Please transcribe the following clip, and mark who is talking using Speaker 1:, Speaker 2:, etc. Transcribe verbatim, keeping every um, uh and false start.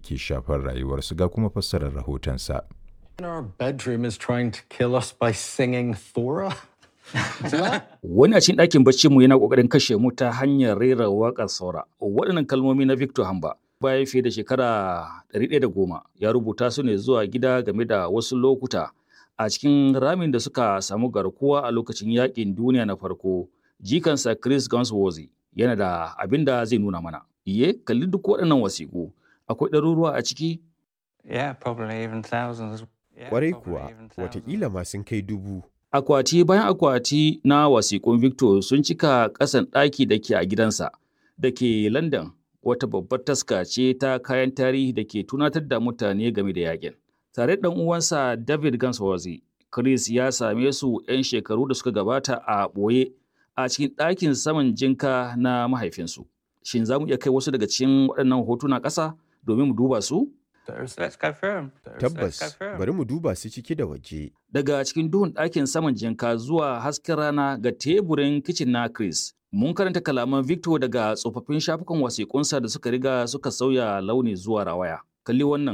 Speaker 1: yaƙi ke shafar rayuwarsu ga kuma fassarar rahotonsa.
Speaker 2: In our bedroom is trying to kill us by singing Thora.
Speaker 3: Wani a cikin ɗakin baccinmu yana ƙoƙarin kashe mu ta hanyar rera waƙar Saura. Waɗannan kalmomi na Victor Hamba bayan fiye da shekara ɗari ɗaya da goma ya rubuta su ne zuwa gida game da wasu lokuta a cikin ramin da suka samu garkuwa a lokacin yaƙin duniya na farko. Jikansa Chris Gunsworthy yana da abin da zai nuna mana. Iye, kalli duk waɗannan wasiƙu. Akwai ɗaruruwa a ciki.
Speaker 4: Yeah, probably even thousands. Yeah,
Speaker 5: Kwarai
Speaker 4: probably
Speaker 5: kuwa,
Speaker 4: even thousands.
Speaker 5: watakila ma sun kai dubu.
Speaker 3: Akwati bayan akwati na wasiƙun Victor sun cika ƙasan ɗaki da ke a gidansa da ke London, wata babbar taska ce ta kayan tarihi da ke tunatar da mutane game da yakin. Tare da ɗan uwansa David Gansworthy, Chris ya same su 'yan shekaru da suka gabata a ɓoye a cikin ɗakin saman jinka na mahaifinsu. Shin za mu iya kai wasu daga cikin waɗannan hotuna ƙasa domin mu duba su?
Speaker 4: Let's go through 'em. Let's go
Speaker 5: Tabbas,
Speaker 4: through 'em.
Speaker 5: bari mu duba su ciki da waje.
Speaker 3: Daga cikin duhun ɗakin saman jinka zuwa hasken rana ga teburin kicin na Chris. Mun karanta kalaman Victor daga tsofaffin shafukan wasiƙunsa da suka riga suka sauya launi zuwa rawaya. Kalli wannan.